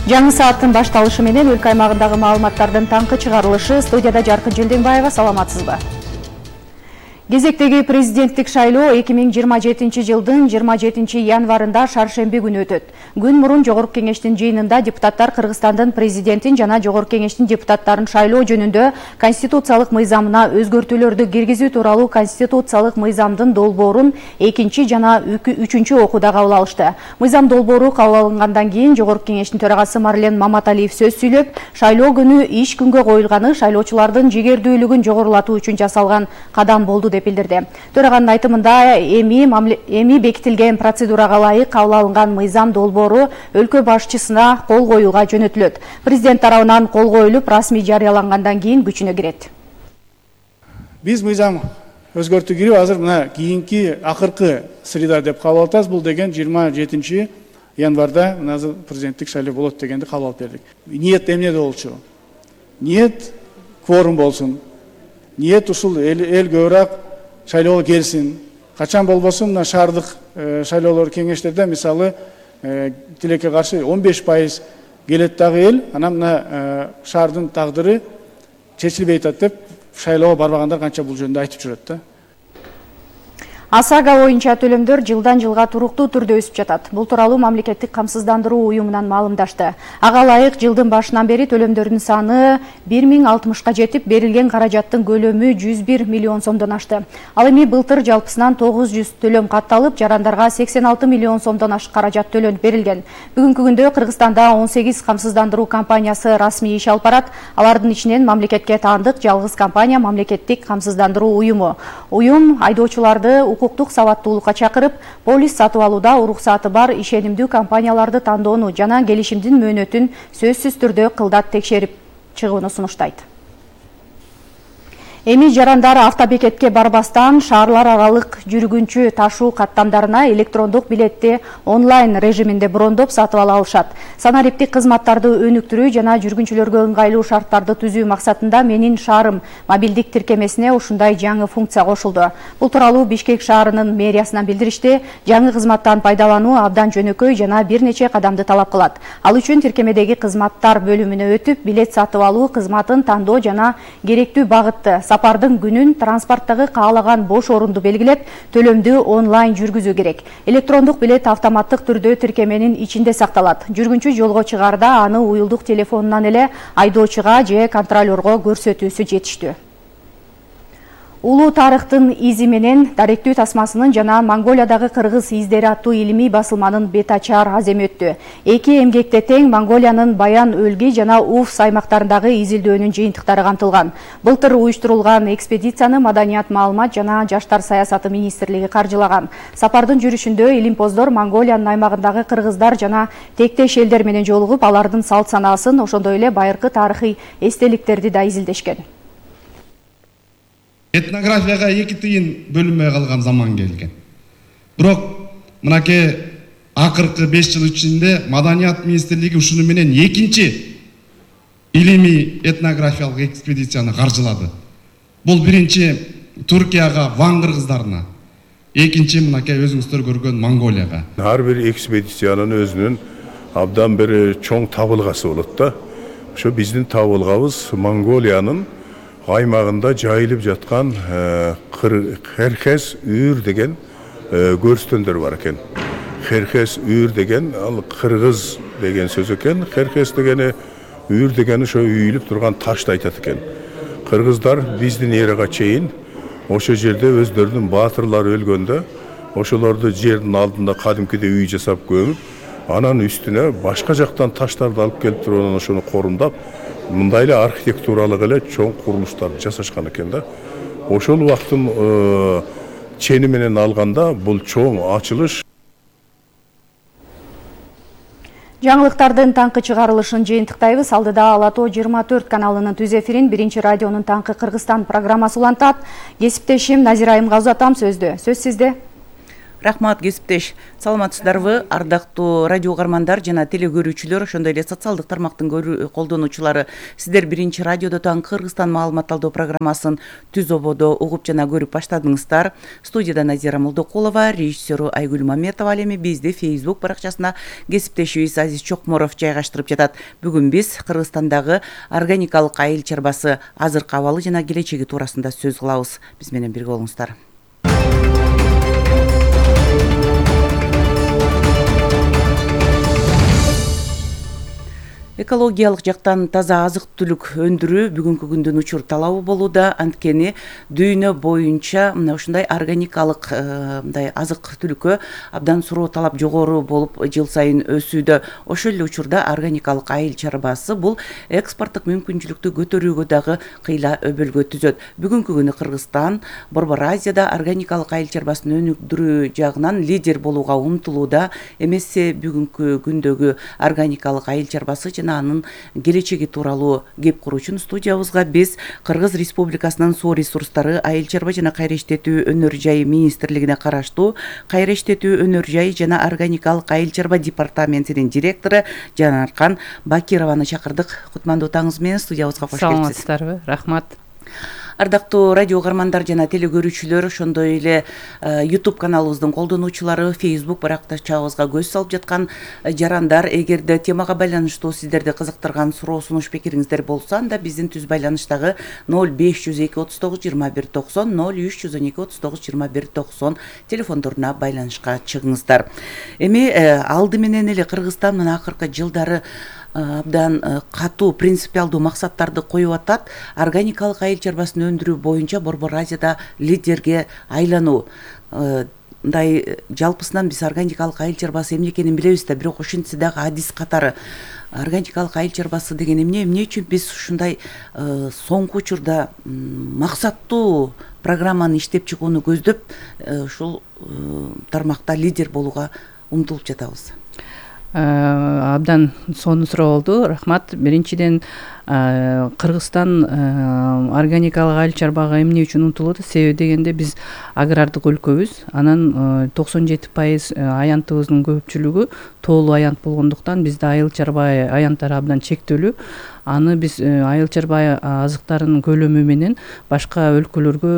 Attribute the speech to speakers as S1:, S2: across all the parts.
S1: Жаңы сааттын башталышы менен өлкө аймагындагы маалыматтардын таңкы чыгарылышы. Студияда Жаркын Желденбаева, саламатсызбы? Кезектеги президенттик шайлоо 2027 жылдын 27 январында шаршемби күнү өтөт. Күн мурун Жогорку Кеңештин жыйынында депутаттар Кыргызстандын президентин жана Жогорку Кеңештин депутаттарын шайлоо жөнүндө конституциялык мыйзамына өзгөртүүлөрдү киргизүү тууралуу конституциялык мыйзамдын долбоорун экинчи жана үчүнчү окууда кабыл алышты. Мыйзам долбоору кабыл алынгандан кийин Жогорку Кеңештин төрагасы Марлен Маматалиев сөз сүйлөп, шайлоо күнү иш күнгө коюлганы шайлоочулардын жигердүүлүгүн жогорулатуу үчүн жасалган кадам болду деп билдирди. Төраганын айтымында эми бекитилген процедурага ылайык кабыл алынган мыйзам долбоору өлкө башчысына кол коюуга жөнөтүлөт. Президент тарабынан кол коюлуп, расмий жарыялангандан кийин күчүнө кирет.
S2: Биз мыйзам өзгөртүү кирип, азыр мына кийинки акыркы среда деп кабыл атабыз. Бул деген 27 январда азыр президенттик шайлоо болот дегенди кабыл алып бердик. Ниет эмнеде болчу? Ниет кворум болсун. Ниет ушул эл көбүрөөк шайлоого келсин. Качан болбосун мына шаардык шайлоолор кеңештерде мисалы тилекке каршы 15% келет дагы эл, анан мына шаардын тагдыры чечилбей атат деп шайлоого барбагандар канча бул жөнүндө айтып жүрөт да. ОСАГО боюнча төлөмдөр жылдан жылга туруктуу түрдө өсүп жатат. Бул тууралуу мамлекеттик камсыздандыруу уюмунан маалымдашты. Ага ылайык жылдын башынан бери төлөмдөрдүн саны 1060ка жетип, берилген каражаттын көлөмү 101 миллион сомдон ашты. Ал эми былтыр жалпысынан 900 төлөм катталып, жарандарга 86 миллион сомдон ашык каражат төлөнүп берилген. Бүгүнкү күндө Кыргызстанда 18 камсыздандыруу компаниясы расмий иш алып барат. Алардын ичинен мамлекетке таандык жалгыз компания мамлекеттик камсыздандыруу уюму. Уюм айдоочуларды укуктук сабаттуулукка чакырып, полис сатып алууда уруксаты бар ишенимдүү компанияларды тандоону жана келишимдин мөөнөтүн сөзсүз түрдө кылдат текшерип чыгууну сунуштайт. Эми жарандар автобекетке барбастан шаарлар аралык жүргүнчү ташуу каттамдарына электрондук билетти онлайн режиминде брондоп сатып ала алышат. Санариптик кызматтарды өнүктүрүү жана жүргүнчүлөргө ыңгайлуу шарттарды түзүү максатында Менин шаарым мобилдик тиркемесине ушундай жаңы функция кошулду. Бул тууралуу Бишкек шаарынын мэриясынан билдиришти. Жаңы кызматтан пайдалануу абдан жөнөкөй жана бир нече кадамды талап кылат. Ал үчүн тиркемедеги кызматтар бөлүмүнө өтүп, билет сатып алуу кызматын тандоо жана керектүү багытты, сапардын күнүн, транспорттогу каалаган бош орунду белгилеп, төлөмдү онлайн жүргүзүү керек. Электрондук билет автоматтык түрдө тиркеменин ичинде сакталат. Жүргүнчү жолго чыгаарда аны уюлдук телефонунан эле айдоочуга же контролерго көрсөтүүсү жетиштүү. Улуу тарыхтын изи менен даректүү тасмасынын жана Монголиядагы кыргыз издери аттуу илимий басылманын бет ачар аземи өттү. Эки эмгекте тең Монголиянын Баян Өлгий жана Уфс аймактарындагы изилдөөнүн жыйынтыктары камтылган. Былтыр уюштурулган экспедицияны Маданият, маалымат жана жаштар саясаты министрлиги каржылаган. Сапардын жүрүшүндө илимпоздор Монголиянын аймагындагы кыргыздар жана тектеш элдер менен жолугуп, алардын салт санаасын, ошондой эле байыркы тарыхый эстеликтерди да изилдешкен.
S3: Этнографияга 2 тыйын бөлүнбөй калган заман келген. Бирок мынакей акыркы 5 жыл ичинде Маданият министрлиги ушуну менен экинчи илимий этнографиялык экспедицияны каржылады. Бул биринчи Туркияга, Ван кыргыздарына, экинчи мынакей өзүңүздөр көргөн Монголияга.
S4: Ар бир экспедициянын өзүнүн абдан бир чоң табылгасы болот да. Ошо биздин табылгабыз Монголиянын аймагында жайылып жаткан Херхес үйүр деген көрстөндөр бар экен. Херхес үйүр деген ал кыргыз деген сөз экен. Херхес дегени үйүр дегени ошо үйүлүп турган ташты айтат экен. Кыргыздар биздин эрага чейин ошо жерде өздөрүнүн баатырлары өлгөндө ошолорду жердин алдында кадимкиде үй жасап көмүп, анан үстүнө башка жактан таштарды алып келип туруп анан ошону корумдап, мындай эле архитектуралык эле чоң курулуштарды жасашкан экен да. Ошол убакыттын чени менен алганда бул чоң ачылыш.
S1: Жаңылыктардын таңкы чыгарылышын жыйынтыктайбыз. Алдыда Алато 24 каналынын түз эфирин Биринчи радионун таңкы Кыргызстан программасы улантат. Кесиптешим Назира Айымгазы атам сөздө. Сөз сизде.
S5: Рахмат, кесиптеш. Саламатсыздарбы? Ардактуу радио угармандар жана теле көрүүчүлөр, ошондой эле социалдык тармактын колдонуучулары, сиздер биринчи радиодо таң Кыргызстан маалымат алуу программасын түз ободо угуп жана көрүп баштадыңыздар. Студияда Назира Молдокулова, режиссеру Айгүл Маметова, ал эми бизди Facebook баракчасына кесиптешибиз Азиз Чокморов жайгаштырып жатат. Бүгүн биз Кыргызстандагы органикалык айыл чарбасы азыркы абалы жана келечеги туурасында сөз кылабыз. Биз менен бирге болуңуздар. Экологиялык жактан таза азык-түлүк өндүрүү бүгүнкү күндүн учур талабы болууда. Анткени дүйнө боюнча мына ушундай органикалык мындай азык-түлүккө абдан суроо талап жогору болуп жыл сайын өсүүдө. Ошол эле учурда органикалык айыл чарбасы бул экспорттук мүмкүнчүлүктү көтөрүүгө дагы кыйла өбөлгө түзөт. Бүгүнкү күнү Кыргызстан Борбор Азияда органикалык айыл чарбасын өнүктүрүү жагынан лидер болууга умтулууда. Эмесе бүгүнкү күндөгү органикалык айыл чарбасы анын келечеги тууралуу кеп куруучун студиябызга биз Кыргыз Республикасынын суу ресурстары, айыл чарба жана кайра иштетүү өнөр жайы министрлигине караштуу кайра иштетүү өнөр жайы жана органикалык айыл чарба департаментинин директору Жанаркан Бакированы чакырдык. Кутмандуу таңыңыз менен студиябызга кош келипсиз.
S6: Саламатсыздарбы? Рахмат.
S5: Ардактуу радио угармандар жана теле көрүүчүлөр, ошондой эле YouTube каналыбыздын колдонуучулары, Facebook баракчабызга көз салып жаткан жарандар, эгерде темага байланыштуу сиздерди кызыктырган суроо, сунуш, пикириңиздер болсо, анда биздин түз байланыштагы 0502 39 21 90 0312 39 21 90 телефондоруна байланышка чыгыңыздар. Эми алды менен эле Кыргызстан мына акыркы жылдары абдан катуу принципиалдуу максаттарды коюп атат. Органикалык айыл чарбасын өндүрүү боюнча Борбор Азияда лидерге айлануу. Мындай жалпысынан биз органикалык айыл чарбасы эмне экенин билебиз да, бирок ошентсе дагы адис катары органикалык айыл чарбасы деген эмне үчүн биз ушундай соңку учурда максаттуу программаны иштеп чыгууну көздөп ушул тармакта лидер болууга умтулуп жатабыз?
S6: Абдан сонун суроо болду. Рахмат. Биринчиден Кыргызстан органикалык айыл чарбага эмне үчүн умтулууда? Себеби дегенде биз агрардык өлкөбүз. Анан 97% аянтыбыздын көпчүлүгү тоолуу аянт болгондуктан бизде айыл чарба аянттары абдан чектелүү. Аны биз айыл чарба азыктарынын көлөмү менен башка өлкөлөргө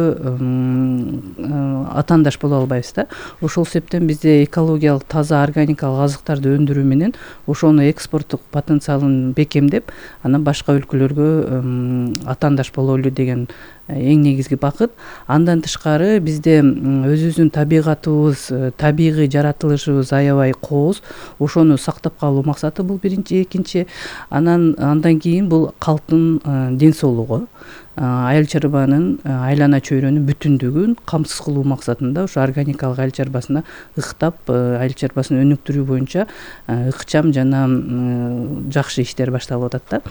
S6: атаандаш боло албайбыз да. Ошол себептен бизде экологиялык таза органикалык азыктарды өндүрүү менен ошону экспорттук потенциалын бекемдеп, анан башка өлкөлөргө атаандаш бололу деген эң негизги бакыт. Андан тышкары бизде өзүбүздүн табигатыбыз, табигый жаратылышыбыз аябай кооз. Ошону сактап калуу максаты бул биринчи. Экинчи, андан кийин бул калктын ден соолугу, айыл чарбанын айлана чөйрөнүн бүтүндүгүн камсыз кылуу максатында ушу органикалык айыл чарбасына ыктап, айыл чарбасын өнүктүрүү боюнча ыкчам жана жакшы иштер башталып атат да.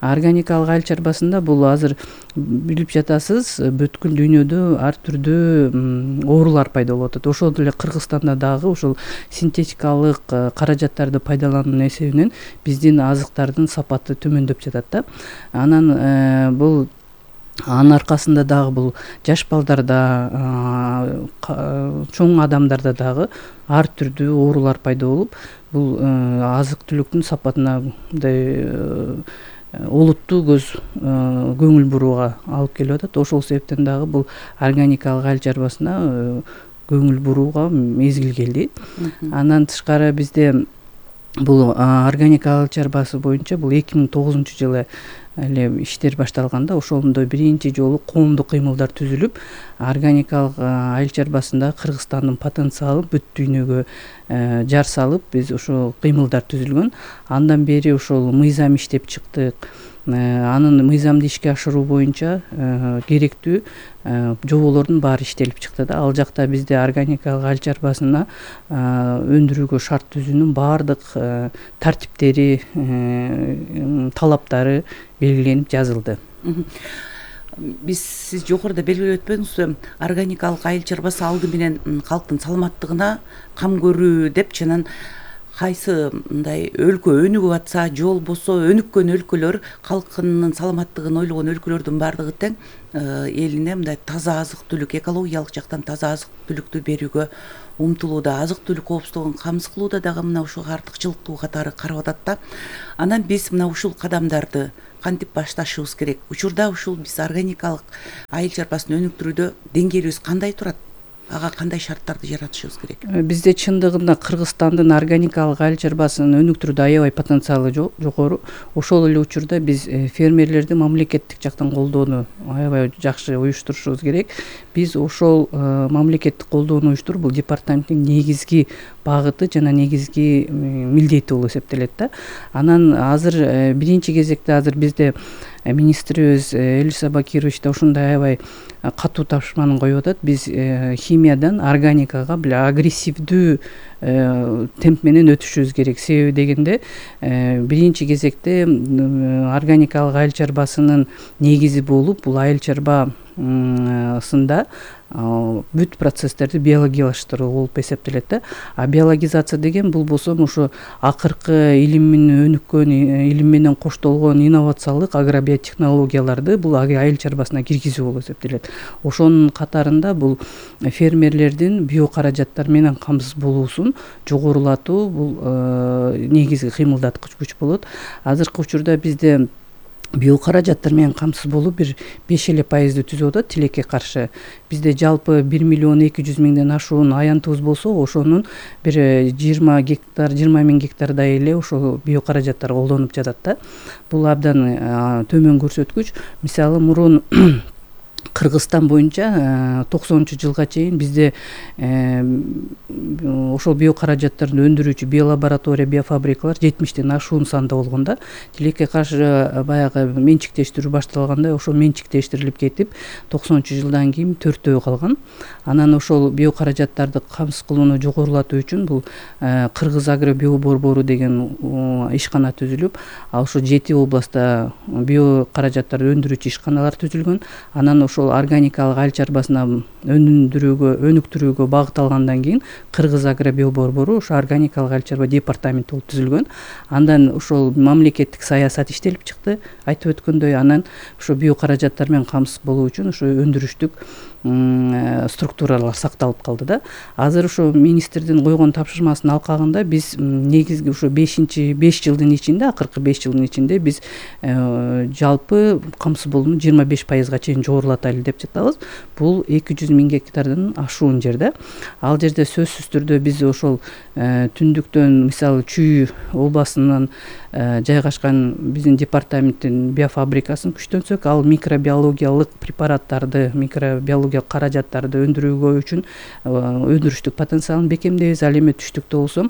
S6: Органикалык айыл чарбасында бул азыр билип жатасыз, бүткүл дүйнөдө ар түрдүү оорулар пайда болуп атат. Ошол эле Кыргызстанда дагы ушул синтетикалык каражаттарды пайдалануунун эсебинен биздин азыктардын сапаты төмөндөп жатат да. Анан бул анын аркасында дагы бул жаш балдарда, чоң адамдарда дагы ар түрдүү оорулар пайда болуп, бул азык-түлүктүн сапатына мындай олуттуу көңүл бурууга алып келип атат. Ошол себептен дагы бул органикалык айыл чарбасына көңүл бурууга мезгил келди. Андан тышкары бизде бул органикалык чарбасы боюнча бул 2009 жылы эле иштер башталганда, ошондо биринчи жолу коомдук кыймылдар түзүлүп, органикалык айыл чарбасында Кыргызстандын потенциалын бүт дүйнөгө жар салып, биз ошол кыймылдар түзүлгөн. Андан бери ошол мыйзам иштеп чыктык. Анын мыйзамды ишке ашыруу боюнча керектүү жоболордун баары иштелип чыкты да. Ал жакта бизде органикалык айыл чарбасына өндүрүүгө шарт түзүүнүн баардык тартиптери, талаптары белгиленип жазылды.
S5: Сиз жогоруда белгилеп өтпөңүз, органикалык айыл чарбасы алды менен калктын саламаттыгына кам көрүү деп, жанан кайсы мындай өлкө өнүгүп атса же болбосо өнүккөн өлкөлөр калкынын саламаттыгын ойлогон өлкөлөрдүн баардыгы тең элине мындай таза азык түлүк, экологиялык жактан таза азык түлүктү берүүгө умтулууда, азык түлүк коопсуздугун камсыз кылууда дагы мына ушул артыкчылыктуу катары карап атат да. Анан биз мына ушул кадамдарды кантип башташыбыз керек? Учурда ушул биз органикалык айыл чарбасын өнүктүрүүдө деңгээлибиз кандай турат? Ага кандай шарттарды жаратышыбыз керек?
S6: Бизде чындыгында Кыргызстандын органикалык айыл чарбасын өнүктүрүүдө аябай потенциалы жогору. Ошол эле учурда биз фермерлерди мамлекеттик жактан колдоону аябай жакшы уюштурушубуз керек. Биз ошол мамлекеттик колдоону уюштуруп, бул департаменттин негизги багыты жана негизги милдети болуп эсептелет да. Анан азыр биринчи кезекте азыр бизде министрибиз Элиса Бакирович да ушундай аябай катуу тапшырманы коюп атат. Биз химиядан органикага агрессивдүү темп менен өтүшүбүз керек. Себеби дегенде биринчи кезекте органикалык айыл чарбасынын негизи болуп, бул айыл чарбасында бүт процесстерди биологиялаштыруу болуп эсептелет да. А биологизация деген бул болсо ушу акыркы илимин өнүккөн, илим менен коштолгон инновациялык агробиотехнологияларды бул айыл чарбасына киргизүү болуп эсептелет. Ошонун катарында бул фермерлердин биокаражаттар менен камсыз болуусун жогорулатуу бул негизги кыймылдаткыч күч болот. Азыркы учурда бизде биокаражаттар менен камсыз болуп бир 5% түзүп атат тилекке каршы. Бизде жалпы 1.200.000 ашуун аянтыбыз болсо, ошонун бир 20.000 гектардай эле ошол биокаражаттар колдонуп жатат да. Бул абдан төмөн көрсөткүч. Мисалы мурун Кыргызстан боюнча 90-жылга чейин бизде ошол биокаражаттарды өндүрүүчү биолаборатория, биофабрикалар 70тен ашуун санда болгон да. Тилекке каршы баягы менчиктештирүү башталганда ошол менчиктештирилип кетип, 90-жылдан кийин 4 калган. Анан ошол биокаражаттарды камсыз кылууну жогорулатуу үчүн бул Кыргыз агро биоборбору деген ишкана түзүлүп, ал ошо 7 областта биокаражаттарды өндүрүүчү ишканалар түзүлгөн. Анан ошол органикалык айыл чарбасына өнүктүрүүгө багыт алгандан кийин Кыргыз агро биоборбору ошо органикалык айыл чарба департаменти болуп түзүлгөн. Андан ошол мамлекеттик саясат иштелип чыкты, айтып өткөндөй. Анан ошо биокаражаттар менен камсыз болуу үчүн ошо өндүрүштүк структуралар сакталып калды да. Азыр ошо министрдин койгон тапшырмасынын алкагында биз негизги ошо 5 жылдын ичинде, акыркы 5 жылдын ичинде биз жалпы камсыз болууну 25%га чейин жогорулатайлы деп жатабыз. Бул 200.000 гектардан ашуун жер да. Ал жерде сөзсүз түрдө биз ошол түндүктөн, мисалы Чүй областынан жайгашкан биздин департаменттин биофабрикасын күчтөнсөк, ал микробиологиялык препараттарды, микробиологиялык каражаттарды өндүрүүгө үчүн өндүрүштүк потенциалын бекемдейбиз. Ал эми түштүктө болсо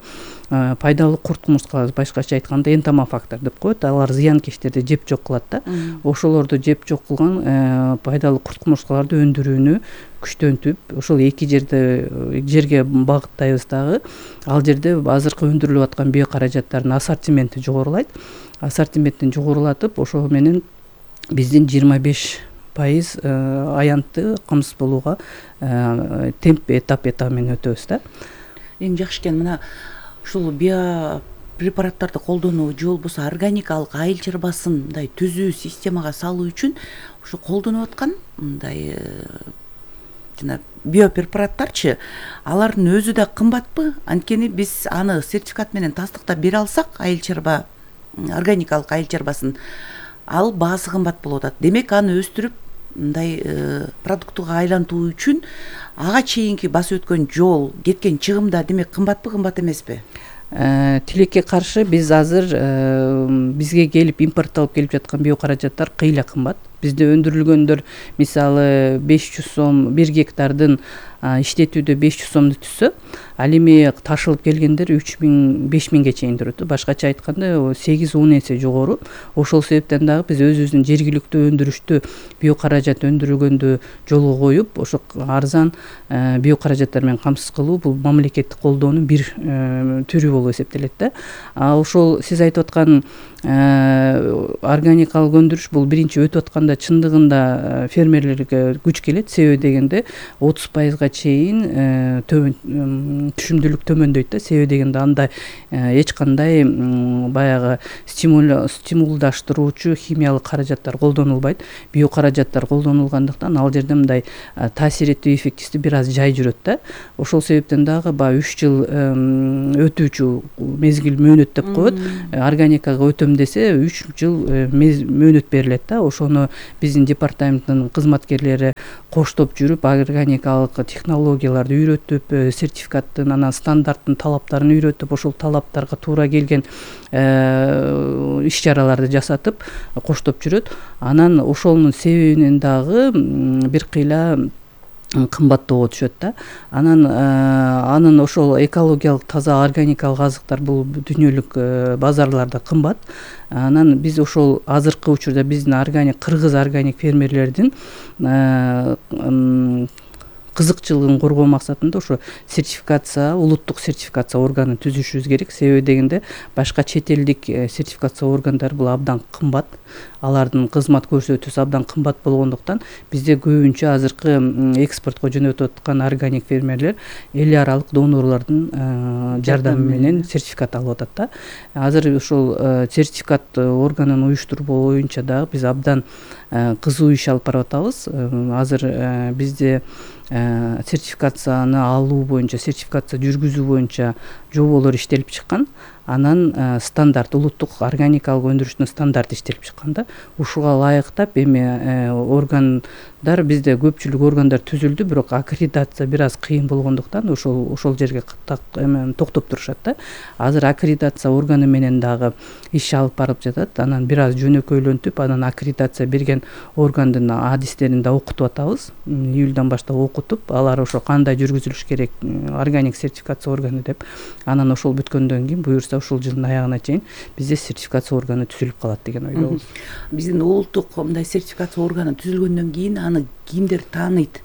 S6: пайдалуу курт кумурскалар, башкача айтканда энтомофактор деп коет. Алар зыянкечтерди жеп жок кылат да. Ошолорду жеп жок кылган пайдалуу курт кумурскаларды өндүрүүнү күчтөнтүп, ошол эки жерге багыттайбыз дагы. Ал жерде азыркы өндүрүлүп аткан биокаражаттардын ассортименти жогорулайт. Ассортиментин жогорулатып, ошол менен биздин 25% аянтты камсыз болууга темп этап менен өтөбүз да.
S5: Эң жакшы экен мына ушул биопрепараттарды колдонуу же болбосо органикалык айыл чарбасын мындай түзүү системага салуу үчүн ушу колдонуп аткан мындай жана биопрепараттарчы, алардын өзү да кымбатпы? Анткени биз аны сертификат менен тастыктап бере алсак, айыл чарба органикалык айыл чарбасын, ал баасы кымбат болуп атат. Демек аны өстүрүп мындай продуктуга айлантуу үчүн ага чейинки басып өткөн жол, кеткен чыгым да демек кымбатпы, кымбат эмеспи?
S6: Тилекке каршы биз азыр бизге келип импортталып келип жаткан биокаражаттар кыйла кымбат. Бизде өндүрүлгөндөр мисалы 500 сом, 1 гектардын иштетүүдө 500 сомду түзсө, ал эми ташылып келгендер 3000-5000ге чейин турат. Башкача айтканда 8-10 эсе жогору. Ошол себептен дагы биз өзүбүздүн жергиликтүү өндүрүштү биокаражат өндүргөндү жолго коюп, ошо арзан биокаражаттар менен камсыз кылуу бул мамлекеттик колдоонун бир түрү болуп эсептелет да. Ошол сиз айтып аткан органикалык өндүрүш бул биринчи өтүп атканда учурда чындыгында фермерлерге күч келет, себеби дегенде 30%-га чейин түшүмдүүлүк төмөндөйт да, себеби дегенде анда эч кандай баягы стимулдаштыруучу химиялык каражаттар колдонулбайт, био каражаттар колдонулгандыктан ал жерде мындай таасир этүү эффективдүү бир аз жай жүрөт да. Ошол себептен дагы баягы 3 жыл өтүүчү мезгил мөөнөт деп коет. Органикага өтөм десе 3 жыл мөөнөт берилет да. Ошону биздин департаменттин кызматкерлери коштоп жүрүп, органикалык технологияларды үйрөтүп, сертификаттын анан стандарттын талаптарын үйрөтүп, ошол талаптарга туура келген иш чараларды жасатып коштоп жүрөт. Анан ошонун себебинен дагы бир кыйла кымбаттоого түшөт да. Анын ошол экологиялык таза органикалык азыктар бул дүйнөлүк базарларда кымбат. Анан биз ошол азыркы учурда биздин кыргыз органик фермерлердин кызыкчылыгын коргоо максатында ошо улуттук сертификация органын түзүшүбүз керек. Себеби дегенде башка чет элдик сертификация органдары бул абдан кымбат. Алардын кызмат көрсөтүүсү абдан кымбат болгондуктан бизде көбүнчө азыркы экспортко жөнөтүп аткан органик фермерлер эл аралык донорлордун жардамы менен сертификат алып атат да. Азыр ошол сертификат органын уюштуруу боюнча дагы биз абдан кызуу иш алып барып атабыз. Азыр бизде сертификацияны алуу боюнча, сертификация жүргүзүү боюнча жоболор иштелип чыккан. Анан улуттук органикалык өндүрүштүн стандарты иштелип чыккан да. Ушуга ылайыктап эми органдар бизде көпчүлүк органдар түзүлдү, бирок аккредитация бир аз кыйын болгондуктан ошол жерге токтоп турушат да. Азыр аккредитация органы менен дагы иш алып барып жатат. Анан бир аз жөнөкөйлөнтүп, анан аккредитация берген органдын адистерин да окутуп атабыз. Июлдан баштап окутуп, алар ошо кандай жүргүзүлүш керек органик сертификация органы деп. Анан ошол бүткөндөн кийин буюрса ушул жылдын аягына чейин бизде сертификация органы түзүлүп калат деген ойдобуз.
S5: Биздин улуттук мындай сертификация органы түзүлгөндөн кийин аны кимдер тааныйт?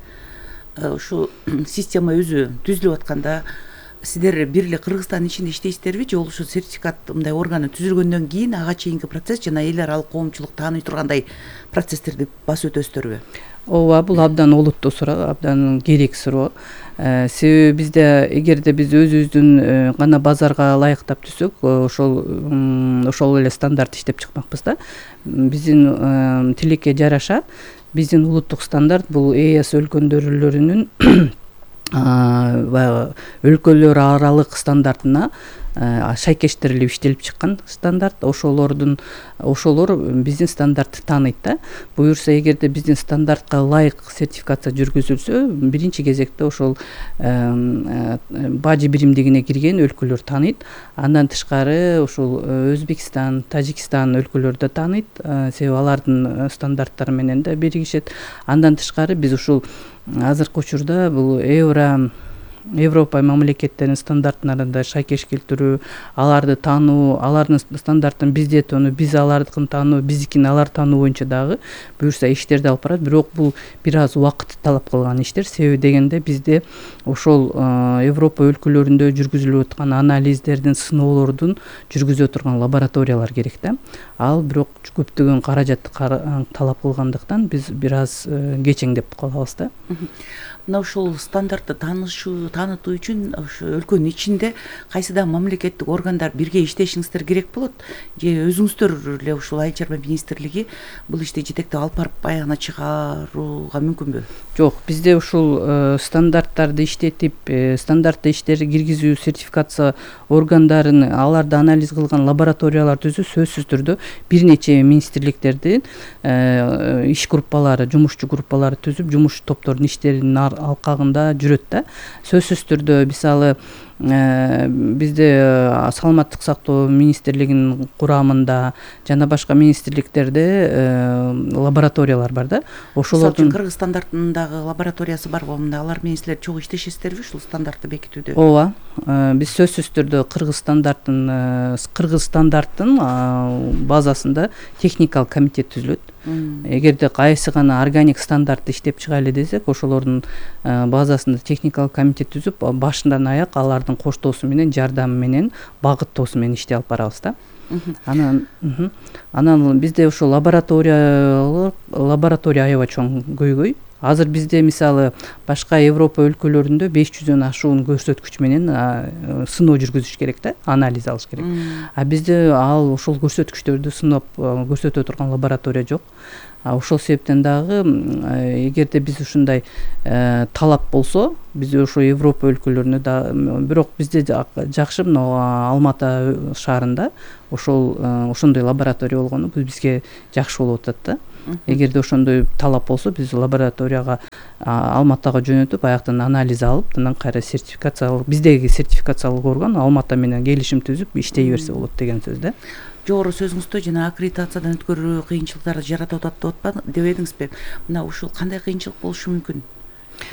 S5: Ушу система өзү түзүлүп атканда сиздер бир эле Кыргызстандын ичинде иштейсиздерби, же ушу сертификат мындай органы түзүлгөндөн кийин ага чейинки процесс жана эл аралык коомчулук тааный тургандай процесстерди басып өтөсүздөрбү?
S6: Ооба, бул абдан олуттуу суроо, абдан керек суроо. Себеби бизде эгерде биз өзүбүздүн гана базарга ылайыктап түзсөк, ошол эле стандарт иштеп чыкмакпыз да. Биздин тилекке жараша биздин улуттук стандарт бул ЕС өлкөлөрүнүн баягы өлкөлөр аралык стандартына шайкештирилип иштелип чыккан стандарт. Ошолор биздин стандартты тааныйт да. Буюрса эгерде биздин стандартка ылайык сертификация жүргүзүлсө, биринчи кезекте ошол бажы биримдигине кирген өлкөлөр тааныйт. Андан тышкары ошол Өзбекстан, Тажикстан өлкөлөрү да тааныйт, себеби алардын стандарттары менен да биригишет. Андан тышкары биз ушул азыркы учурда бул Европа мамлекеттеринин стандартына шайкеш келтирүү, аларды таануу, алардын стандарттын бизде тонуу, биз алардыкын таануу, биздикин алар таануу боюнча дагы буюрса иштерди алып барат. Бирок бул бир аз убакыт талап кылган иштер. Себеби дегенде бизде ошол Европа өлкөлөрүндө жүргүзүлүп аткан анализдердин, сыноолордун жүргүзүп турган лабораториялар керек да. Ал бирок көптөгөн каражатты талап кылгандыктан биз бир аз кечеңдеп калабыз да.
S5: Мына ушул стандартты таанытуу үчүн ошо өлкөнүн ичинде кайсы да мамлекеттик органдар бирге иштешиңиздер керек болот, же өзүңүздөр эле ушул Айыл чарба министрлиги бул ишти жетектеп алып барып аягына чыгарууга мүмкүнбү?
S6: Жок, бизде ушул стандарттарды иштетип, стандартты иштерди киргизүү, сертификация органдарын, аларды анализ кылган лабораториялар түзүү сөзсүз түрдө бир нече министрликтердин иш группалары, жумушчу группалары түзүп, жумуш топтордун иштеринин алкагында жүрөт да. Сөзсүз түрдө мисалы бизде саламаттык сактоо министрлигинин курамында жана башка министрликтерде лабораториялар бар да.
S5: Ошолордун Кыргызстандагы лабораториясы барбы? Алар менен силер чогуу иштешесиздерби ушул стандартты бекитүүдө?
S6: Ооба, биз сөзсүз түрдө кыргыз стандарттын базасында техникалык комитет түзүлөт. Эгерде кайсы гана органик стандартты иштеп чыгайлы десек, ошолордун базасында техникалык комитет түзүп, башынан аяк алардын коштоосу менен, жардамы менен, багыттоосу менен иштей алып барабыз да. Анан бизде ошо лаборатория аябай чоң көйгөй. Азыр бизде мисалы башка Европа өлкөлөрүндө 500дөн ашуун көрсөткүч менен сыноо жүргүзүш керек да, анализ алыш керек. А бизде ошол көрсөткүчтөрдү сынап көрсөтө турган лаборатория жок. Ошол себептен дагы эгерде биз ушундай талап болсо, биз ошо Европа өлкөлөрүнө да, бирок бизде жакшы Алматы шаарында ошондой лаборатория болгону бизге жакшы болуп атат да. Эгерде ошондой талап болсо, биз лабораторияга Алматага жөнөтүп, аяктан анализ алып, анан кайра сертификациялык, биздеги сертификациялык орган Алматы менен келишим түзүп иштей берсе болот деген сөз да.
S5: Жогору сөзүңүздө жана аккредитациядан өткөрүү кыйынчылыктарды жаратып атат деп эдиңизби? Мына ушул кандай кыйынчылык болушу мүмкүн?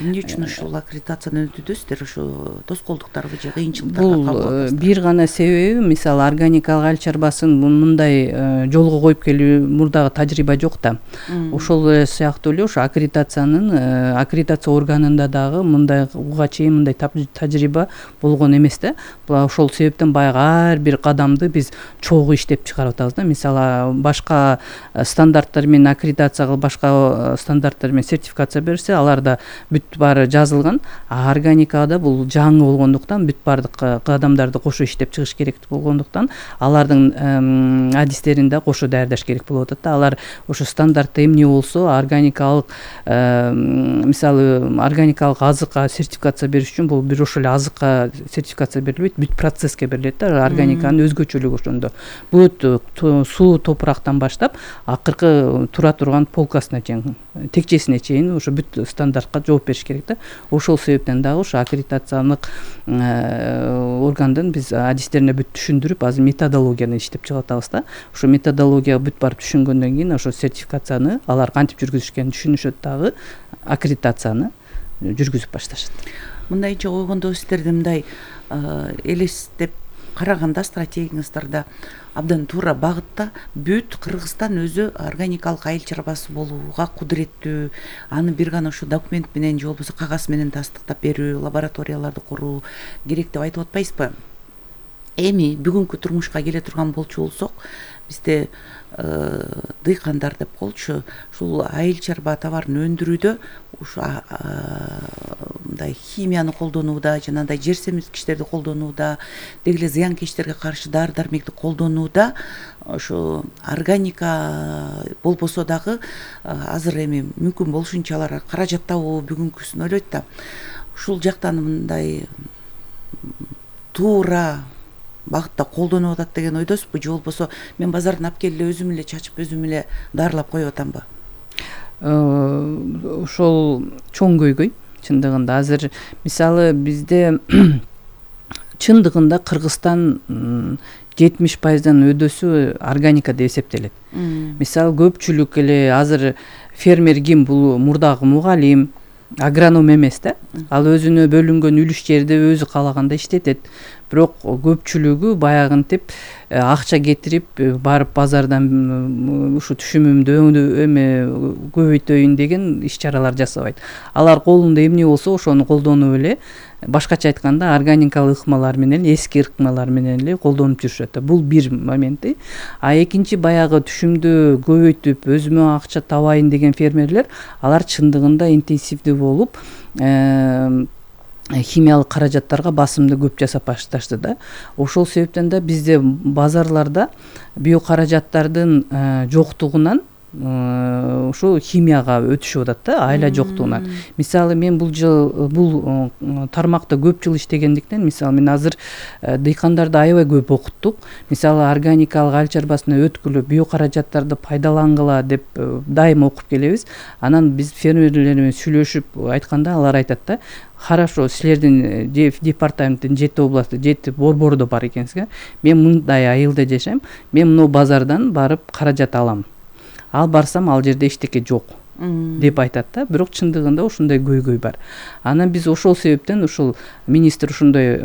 S5: Эмне үчүн ушул аккредитациядан өтүүдөсүздөр? Ошо тоскоолдуктарбы же кыйынчылыктарга кабыл аласыздар?
S6: Бул бир гана себеби, мисалы органикалык ал чарбасын мындай жолго коюп келүү мурдагы тажрыйба жок да. Ошол сыяктуу эле ошо аккредитация органында дагы мындай уга чейин мындай тажрыйба болгон эмес да. Ошол себептен баягы ар бир кадамды биз чогуу иштеп чыгарып атабыз да. Мисалы башка стандарттар менен аккредитация кылып, башка стандарттар менен сертификация берсе, аларда бүт баары жазылган. Органикада бул жаңы болгондуктан бүт баардык кадамдарды кошо иштеп чыгыш керек болгондуктан алардын адистерин да кошо даярдаш керек болуп атат да. Алар ошо стандартта эмне болсо, органикалык мисалы органикалык азыкка сертификация бериш үчүн бул бир ошол эле азыкка сертификация берилбейт, бүт процесске берилет да. Органиканын өзгөчөлүгү ошондо. Бүт суу топурактан баштап акыркы тура турган полкасына чейин, текчесине чейин ошо бүт стандартка жооп бериш керек да. Ошол себептен дагы ошо аккредитациялык органдын биз адистерине бүт түшүндүрүп, азыр методологияны иштеп чыгып атабыз да. Ошо методологияга бүт барып түшүнгөндөн кийин ошо сертификацияны алар кантип жүргүзүшкенин түшүнүшөт, дагы аккредитацияны жүргүзүп башташат.
S5: Мындайча койгондо сиздерди мындай элестеп караганда стратегияңыздарда абдан туура багытта бүт Кыргызстан өзү органикалык айыл чарбасы болууга кудуреттүү, аны бир гана ушу документ менен же болбосо кагаз менен тастыктап берүү, лабораторияларды куруу керек деп айтып атпайсызбы? Эми бүгүнкү турмушка келе турган болчу болсок, бизде дыйкандар деп коелучу, ушул айыл чарба товарын өндүрүүдө ушу мындай химияны колдонууда, жанагындай жер семирткичтерди колдонууда, деги эле зыянкечтерге каршы дары-дармекти колдонууда ошо органика болбосо дагы азыр эми мүмкүн болушунча алар каражат табуу бүгүнкүсүн ойлойт да. Ушул жактан мындай туура багытта колдонуп атат деген ойдосузбу, же болбосо мен базардан алып келип өзүм эле чачып, өзүм эле дарылап коюп атамбы?
S6: Ошол чоң көйгөй чындыгында. Азыр мисалы бизде чындыгында Кыргызстан 70%дан өдөсү органика деп эсептелет. Мисалы көпчүлүк эле азыр фермер ким? Бул мурдагы мугалим, агроном эмес да. Ал өзүнө бөлүнгөн үлүш жерди өзү каалаганда иштетет. Бирок көпчүлүгү баягынтип акча кетирип барып базардан ушу түшүмүмдү көбөйтөйүн деген иш чаралар жасабайт. Алар колунда эмне болсо ошону колдонуп эле, башкача айтканда органикалык ыкмалар менен, эски ыкмалар менен эле колдонуп жүрүшөт. Бул бир моменти. А экинчи баягы түшүмдү көбөйтүп өзүмө акча табайын деген фермерлер, алар чындыгында интенсивдүү болуп химиялык каражаттарга басымды көп жасап башташты да. Ошол себептен да бизде базарларда биокаражаттардын жоктугунан ушу химияга өтүшүп атат да, айла жоктугунан. Мисалы мен бул тармакта көп жыл иштегендиктен, мисалы мен азыр дыйкандарды аябай көп окуттук. Мисалы органикалык айыл чарбасына өткүлө, биокаражаттарды пайдалангыла деп дайыма окуп келебиз. Анан биз фермерлер менен сүйлөшүп айтканда алар айтат да, хорошо, силердин департаменттин 7 областы, 7 борбордо бар экенсиз. Мен мындай айылда жашайм, мен мына базардан барып каражат алам. Ал барсам ал жерде эчтеке жок. деп айтат да, бирок чындыгында ушундай көйгөй бар. Анан биз ошол себептен ушул министр ушундай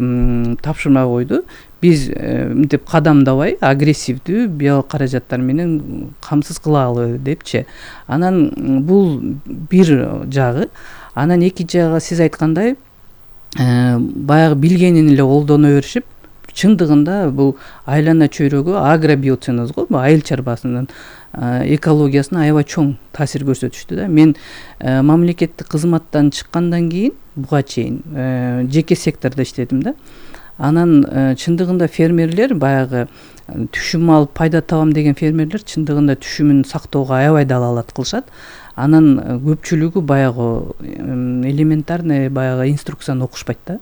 S6: тапшырма койду. Биз мынтип кадамдабай агрессивдүү биялык каражаттар менен камсыз кылалы депчи. Анан бул бир жагы. Анан экинчи жагы сиз айткандай баягы билгенин эле колдоно беришип, чындыгында бул айлана чөйрөгү агробиоценоз го, айыл чарбасынын экологиясына аябай чоң таасир көрсөтүштү да. Мен мамлекеттик кызматтан чыккандан кийин буга чейин жеке сектордо иштедим да. Анан чындыгында фермерлер баягы түшүм алып пайда табам деген фермерлер чындыгында түшүмүн сактоого аябай далаалат кылышат. Анан көпчүлүгү баягы элементарный баягы инструкцияны окушпайт да.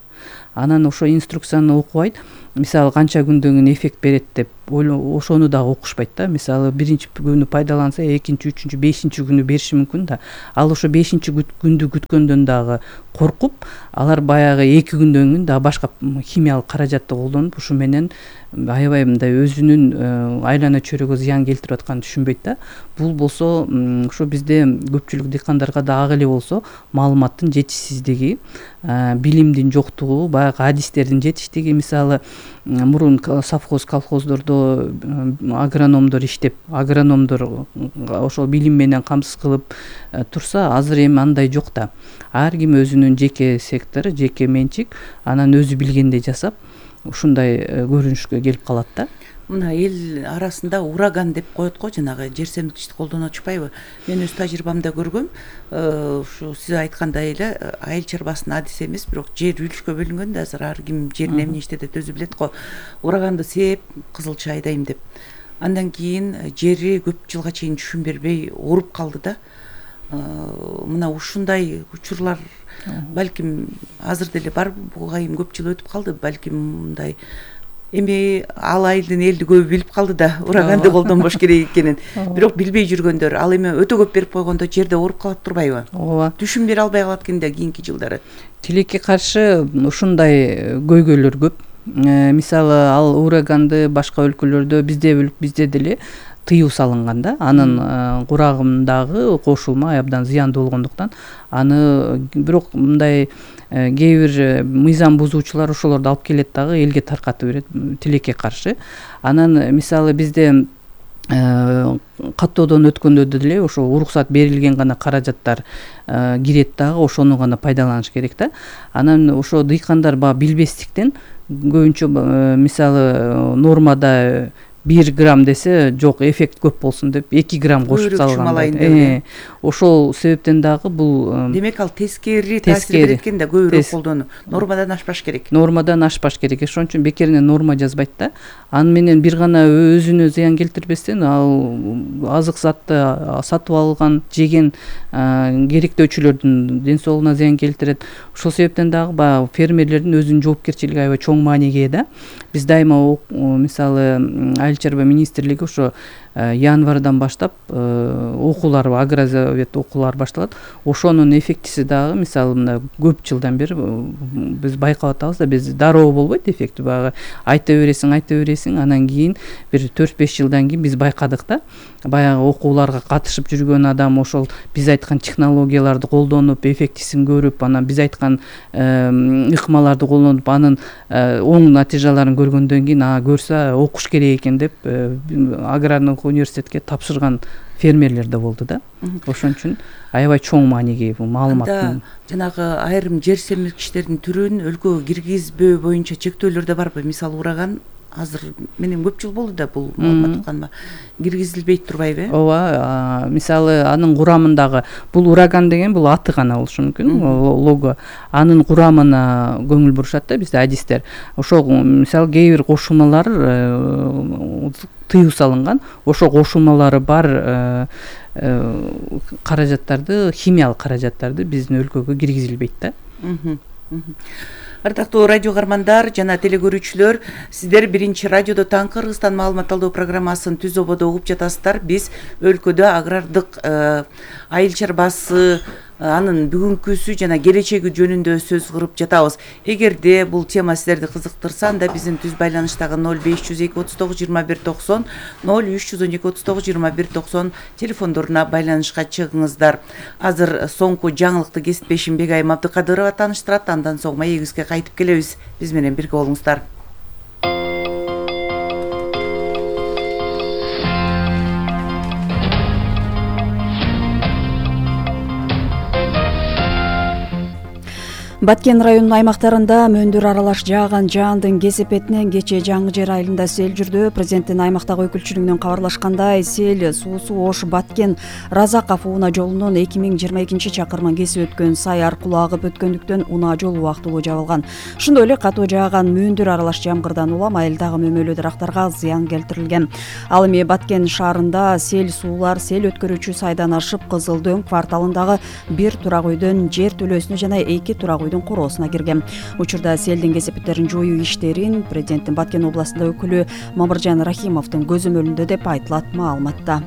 S6: Анан ошо инструкцияны окубайт. Мисалы канча күндөн кийин эффект берет деп ошону дагы окушпайт да. Мисалы биринчи күнү пайдаланса, экинчи, үчүнчү, бешинчи күнү бериши мүмкүн да. Ал ошо бешинчи күндү күткөндөн дагы коркуп, алар баягы 2 күндөн кийин дагы башка химиялык каражатты колдонуп, ушу менен аябай мындай өзүнүн айлана чөйрөгө зыян келтирип атканын түшүнбөйт да. Бул болсо ошо бизде көпчүлүк дыйкандарга да ак эле болсо маалыматтын жетишсиздиги, билимдин жоктугу, баягы адистердин жетиштиги. Мисалы мурун совхоз колхоздордо агрономдор иштеп, агрономдор ошол билим менен камсыз кылып турса, азыр эми андай жок да. Ар ким өзүнүн жеке сектору, жеке менчик, анан өзү билгендей жасап, ушундай көрүнүшкө келип калат да.
S5: Мына эл арасында ураган деп коет го, жанагы жер семиргичти колдонуп атышпайбы? Мен өз тажрыйбамда көргөм. Ушу сиз айткандай эле айыл чарбасынын адиси эмес, бирок жер үлүшкө бөлүнгөн да, азыр ар ким жерин эмне иштетет өзү билет го. Ураганды сеп, кызылча айдайм деп. Андан кийин жери көп жылга чейин түшүм бербей ооруп калды да. Мына ушундай учурлар балким азыр деле бар, буга айым көп жыл өтүп калды, балким мындай эми ал айылдын элди көбү билип калды да, ураганды колдонбош керек экенин. Бирок билбей жүргөндөр, ал эми өтө көп берип койгондо жерде ооруп калат турбайбы?
S6: Ооба.
S5: Түшүм бере албай калат экен да кийинки жылдары.
S6: Тилекке каршы ушундай көйгөйлөр көп. Мисалы ал ураганды башка өлкөлөрдө бизде деле тыюу салынган да. Анын курагындагы кошулма абдан зыяндуу болгондуктан аны бирок мындай кээ бир мыйзам бузуучулар ошолорду алып келет дагы элге таркатып берет тилекке каршы. Анан мисалы бизде каттоодон өткөндө деле ошо уруксат берилген гана каражаттар кирет дагы, ошону гана пайдаланыш керек да. Анан ошо дыйкандар баягы билбестиктен көбүнчө мисалы нормада 1 грамм десе, жок, эффект көп болсун деп 2 грамм кошуп салган. Ошол себептен дагы бул
S5: демек ал тескери таасир берет экен да, көбүрөөк колдонуу. Нормадан ашпаш керек.
S6: Нормадан ашпаш керек. Ошон үчүн бекеринен норма жазбайт да. Аны менен бир гана өзүнө зыян келтирбестен ал азык затты сатып алган, жеген керектөөчүлөрдүн ден соолугуна зыян келтирет. Ошол себептен дагы баягы фермерлердин өзүнүн жоопкерчилиги аябай чоң мааниге ээ да. Биз дайыма мисалы айыл чарба министрлиги ошо январдан баштап окуулар, агрозавет окуулар башталат. Ошонун эффектиси дагы мисалы мына көп жылдан бери биз байкап атабыз да, биз дароо болбойт эффекти, баягы айта бересиң, анан кийин бир 4-5 жылдан кийин биз байкадык да. Баягы окууларга катышып жүргөн адам ошол биз айткан технологияларды колдонуп, эффектисин көрүп, анан биз айткан ыкмаларды колдонуп, анын оң натыйжаларын көргөндөн кийин көрсө окуш керек экен деп аграрный университетке тапшырган фермерлер да болду да. Ошон үчүн аябай чоң мааниге бул маалыматтын.
S5: Жанагы айрым жер семиргичтердин түрүн өлкөгө киргизбөө боюнча чектөөлөр да барбы? Мисалы ураган азыр менен көп жыл болду да бул маалымат укканыма. Киргизилбейт турбайбы?
S6: Ооба, мисалы анын курамындагы бул ураган деген бул аты гана болушу мүмкүн, лого. Анын курамына көңүл бурушат да бизде адистер. Ошол мисалы кээ бир кошулмалар тыюу салынган, ошо кошулмалары бар каражаттарды, химиялык каражаттарды биздин өлкөгө киргизилбейт да.
S5: Ардактуу радио каармандар жана телекөрүүчүлөр, сиздер биринчи радиодо Таңкы Кыргызстан маалымат алуу программасын түз ободо угуп жатасыздар. Биз өлкөдө агрардык айыл чарбасы анын бүгүнкүсү жана келечеги жөнүндө сөз кылып жатабыз. Эгерде бул тема силерди кызыктырса, анда биздин түз байланыштагы 0502 39 21 90 0312 39 21 90 телефондоруна байланышка чыгыңыздар. Азыр соңку жаңылыкты кесиптешим Бегайым Абдыкадырова тааныштырат. Андан соң маегибизге кайтып келебиз. Биз менен бирге болуңуздар.
S7: Баткен районунун аймактарында мөндүр аралаш жааган жаандын кесепетинен кечээ Жаңы Жер айылында сел жүрдү. Президенттин аймактагы өкүлчүлүгүнөн кабарлашкандай, сел суусу Ош Баткен Разаков унаа жолунун 2022 чакырымын кесип өткөн сай аркылуу агып өткөндүктөн унаа жол убактылуу жабылган. Ошондой эле катуу жааган мөндүр аралаш жамгырдан улам айылдагы мөмөлүү дарактарга зыян келтирилген. Ал эми Баткен шаарында сел суулар сел өткөрүүчү сайдан ашып Кызыл Дөң кварталындагы бир турак үйдөн жер төлөөсүнө жана 2 турак үйдүн короосуна кирген. Учурда селдин кесепеттерин жоюу иштерин президенттин Баткен областында өкүлү Мамыржан Рахимовдун көзөмөлүндө деп айтылат маалыматта.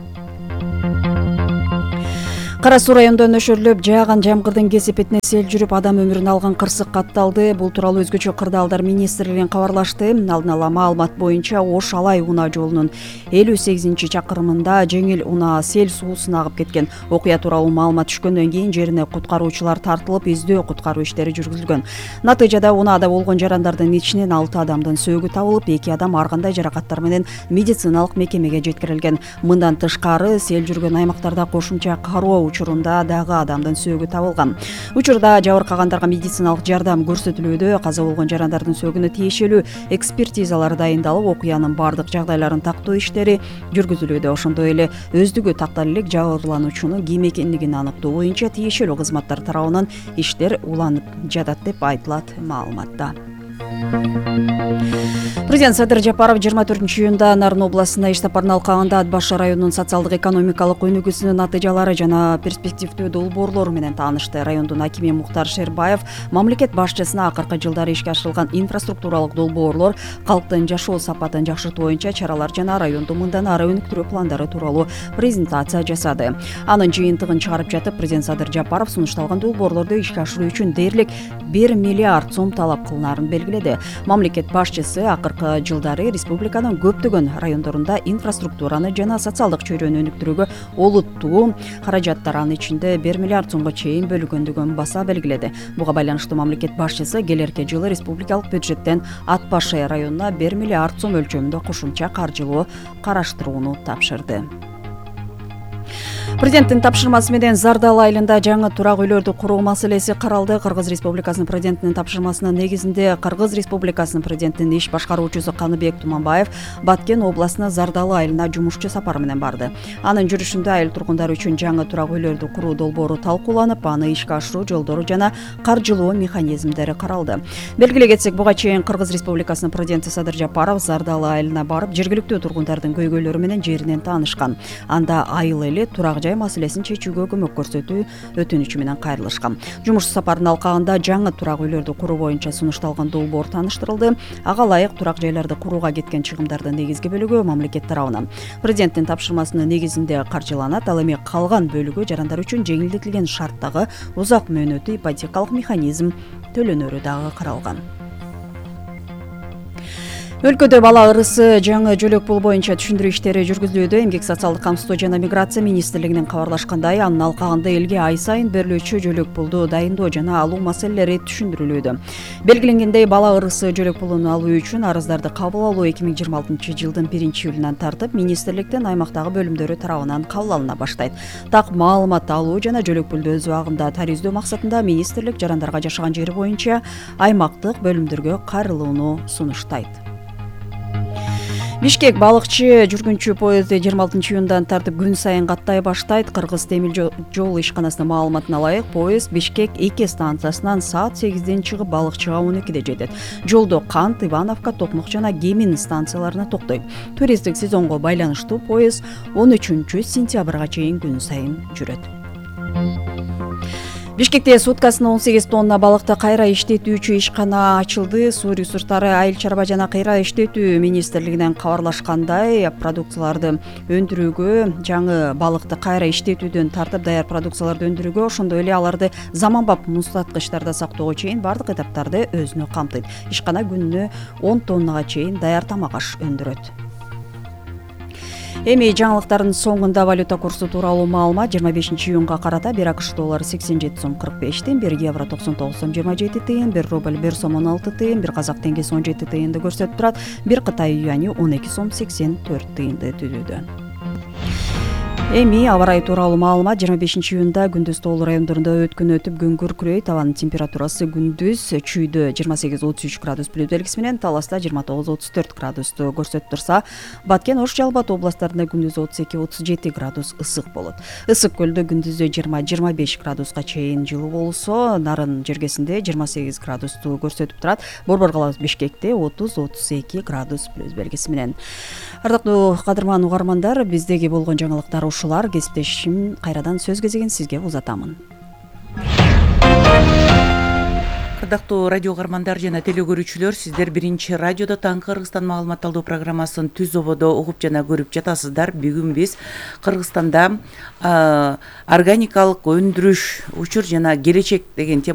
S7: Кара Суу районунда нөшөрлөп жааган жамгырдын кесепетине сел жүрүп адам өмүрүн алган кырсык катталды. Бул тууралуу өзгөчө кырдаалдар министрлигинен кабарлашты. Алдын ала маалымат боюнча Ош Алай унаа жолунун 58-чакырымында жеңил унаа сел суусуна агып кеткен. Окуя тууралуу маалымат түшкөндөн кийин жерине куткаруучулар тартылып, издөө куткаруу иштери жүргүзүлгөн. Натыйжада унаада болгон жарандардын ичинен 6 адамдын сөөгү табылып, 2 адам ар кандай жаракаттар менен медициналык мекемеге жеткирилген. Мындан тышкары сел жүргөн аймактарда кошумча кароо учурунда дагы адамдын сөөгү табылган. Учурда жабыркагандарга медициналык жардам көрсөтүлүүдө. Каза болгон жарандардын сөөгүнө тиешелүү экспертизалар дайындалып, окуянын бардык жагдайларын тактоо иштери жүргүзүлүүдө. Ошондой эле өздүгү тактар элек жабырлануучунун ким экендигин аныктоо боюнча тиешелүү кызматтар тарабынан иштер уланып жатат деп айтылат маалыматта. Президент Садыр Жапаров 24-июнда Нарын областына иш сапарына алкаганда Ат Башы районунун социалдык экономикалык өнүгүүсүнүн натыйжалары жана перспективдүү долбоорлору менен таанышты. Райондун акими Мухтар Шербаев мамлекет башчысына акыркы жылдары ишке ашырылган инфраструктуралык долбоорлор, калктын жашоо сапатын жакшыртуу боюнча чаралар жана районду мындан ары өнүктүрүү пландары тууралуу презентация жасады. Анын жыйынтыгын чыгарып жатып, президент Садыр Жапаров сунушталган долбоорлорду ишке ашыруу үчүн дээрлик 1 миллиард сом талап кылынаарын белгиледи. Мамлекет башчысы акыркы жылдары республиканын көптөгөн райондорунда инфраструктураны жана социалдык чөйрөнү өнүктүрүүгө олуттуу каражаттар, анын ичинде 1 миллиард сомго чейин бөлүнгөндүгүн баса белгиледи. Буга байланыштуу мамлекет башчысы келерки жылы республикалык бюджеттен Ат Башы районуна 1 миллиард сом өлчөмүндө кошумча каржылоо караштырууну тапшырды. Президенттин тапшырмасы менен Зардал айылында жаңы турак үйлөрдү куруу маселеси каралды. Кыргыз Республикасынын президентинин тапшырмасынын негизинде Кыргыз Республикасынын президентинин иш башкаруучусу Каныбек Туманбаев Баткен областына Зардал айылына жумушчу сапар менен барды. Анын жүрүшүндө айыл тургундары үчүн жаңы турак үйлөрдү куруу долбоору талкууланып, аны ишке ашыруу жолдору жана каржылоо механизмдери каралды. Белгилей кетсек, буга чейин Кыргыз Республикасынын президенти Садыр Жапаров Зардал айылына барып, жергиликтүү тургундардын көйгөйлөрү менен жеринен таанышкан. Анда айыл эли турак жай маселесин чечүүгө көмөк көрсөтүү өтүнүчү менен кайрылышкан. Жумуш сапарынын алкагында жаңы турак үйлөрдү куруу боюнча сунушталган долбоор тааныштырылды. Ага ылайык турак жайларды курууга кеткен чыгымдардын негизги бөлүгү мамлекет тарабынан президенттин тапшырмасынын негизинде каржыланат. Ал эми калган бөлүгү жарандар үчүн жеңилдетилген шарттагы узак мөөнөттүү ипотекалык механизм төлөнөрү дагы каралган. Өлкөдө бала ырысы жаңы жөлөк пул боюнча түшүндүрүү иштери жүргүзүлүүдө. Эмгек социалдык камсыздоо жана миграция министрлигинин кабарлашкандай, анын алкагында элге ай сайын берилүүчү жөлөк пулду дайындоо жана алуу маселелери түшүндүрүлүүдө. Белгиленгендей, бала ырысы жөлөк пулун алуу үчүн арыздарды кабыл алуу 2026 жылдын 1-июлунан тартып министрликтин аймактагы бөлүмдөрү тарабынан кабыл алына баштайт. Так маалымат алуу жана жөлөк пулду өз убагында тариздөө максатында министрлик жарандарга жашаган жери боюнча аймактык бөлүмдөргө кайрылууну сунуштайт. Бишкек балыкчы жүргүнчү поезду 26-июндан тартып күн сайын каттай баштайт. Кыргыз темир жол ишканасынын маалыматына ылайык, поезд Бишкек 2 станциясынан саат 8ден чыгып балыкчыга 12де жетет. Жолдо Кант, Ивановка, Токмок жана Кемин станцияларына токтойт. Туристтик сезонго байланыштуу поезд 13-сентябрга чейин күн сайын жүрөт. Бишкекте суткасына 18 тонна балыкты кайра иштетүүчү ишкана ачылды. Суу ресурстары, айыл чарба жана кайра иштетүү министрлигинен кабарлашкандай, продукцияларды өндүрүүгө, жаңы балыкты кайра иштетүүдөн тартып даяр продукцияларды өндүрүүгө, ошондой эле аларды заманбап муздаткычтарда сактоого чейин бардык этаптарды өзүнө камтыйт. Ишкана күнүнө 10 тоннага чейин даяр тамак аш өндүрөт. Эми жаңылыктардын соңунда валюта курсу тууралуу маалымат. 25-июнга карата 1 АКШ доллары 87 сом 45 тыйын, 1 евро 99 сом 27 тыйын, 1 рубль 1 сом 16 тыйын, 1 казак теңгеси 17 тыйынды көрсөтүп турат. 1 Кытай юани 12 сом 84 тыйынды түзүүдө. Эми аба ырайы тууралуу маалымат. 25-июнда күндүз тоолуу райондорунда өткөн өтүп күн күркүрөйт. Абанын температурасы күндүз Чүйдө 28-33 градус плюс белгиси менен, Таласта 29-34 градусту көрсөтүп турса, Баткен, Ош, Жалал Абад областарында күндүз 32-37 градус ысык болот. Ысык көлдө күндүзү 20-25 градуска чейин жылуу болсо, Нарын жергесинде 28 градусту көрсөтүп турат. Борбор каласы Бишкекте 30-32 градус плюс белгиси менен. Ардактуу кадырман угармандар, биздеги болгон жаңылыктар ушулар. Кесиптешим кайрадан сөз кезегин сизге узатамын.
S5: Ардактуу радио угармандар жана телегөрүүчүлөр, сиздер биринчи радиодо таңкы Кыргызстан маалымат алуу программасын түз ободо угуп жана көрүп жатасыздар. Бүгүн биз Кыргызстанда органикалык өндүрүш учур жана келечек деген тема